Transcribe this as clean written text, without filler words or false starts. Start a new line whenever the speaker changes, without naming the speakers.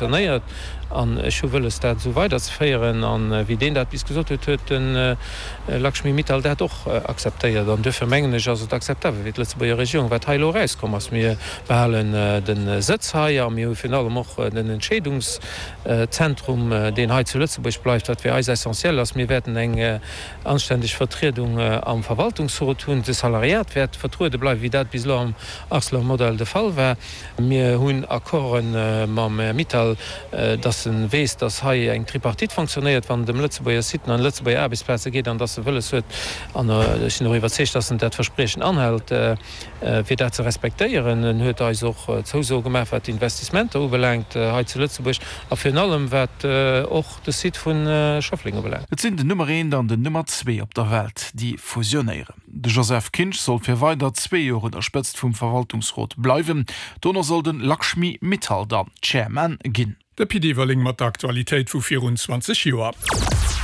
fonctionnéiert an ech hu wëlles, dat esou weiderzeféieren. A wéi deen dat bis gesot huet, huet de Lakshmi Mittal dat och akzeptéiert. An duerfir mengen ech, ass et akzeptabel fir d'Lëtzebuerger Regierung, wat hei elo erauskomm ass. Mir behalen de Sëtz hei a mir hu virun allem och den Entscheedungszentrum, deen hei zu Lëtzebuerg bleift, wat fir eis essentiel ass. Mir wäerten eng anständeg Vertriedung am Verwaltungsrot hunn. De Salariat wäert vertruede bleiwen, wéi dat bis elo am Arcelor-Modell de Fall war. Mir hunn Accorde mam Här Mittal, dass e weess, dass hei eng Tripartite fonctionnéiert, wann et ëm Lëtzebuerger Siten an Lëtzebuerger Aarbechtsplaze geet, an dass e wëlles huet, an ech sinn och iwwerzeegt, dass en dat Verspriechen anhält, fir dat ze respektéieren. En huet eis och Zousoe gemaach, wat d'Investissementer ubelaangt hei zu Lëtzebuerg a virun allem wat och de Site vu Schëffleng ubelaangt.
Et sinn den Nummer eent an den Nummer zwee op der Welt, déi fusionéieren. De Joseph Kinsch soll fir weider zwee Joer un der Spëtzt vum Verwaltungsrot bleiwen. Dono soll de Lakshmi Mittal dann Chairman ginn.
De Pit Everling mat der Aktualitéit vu virun 20 Joer.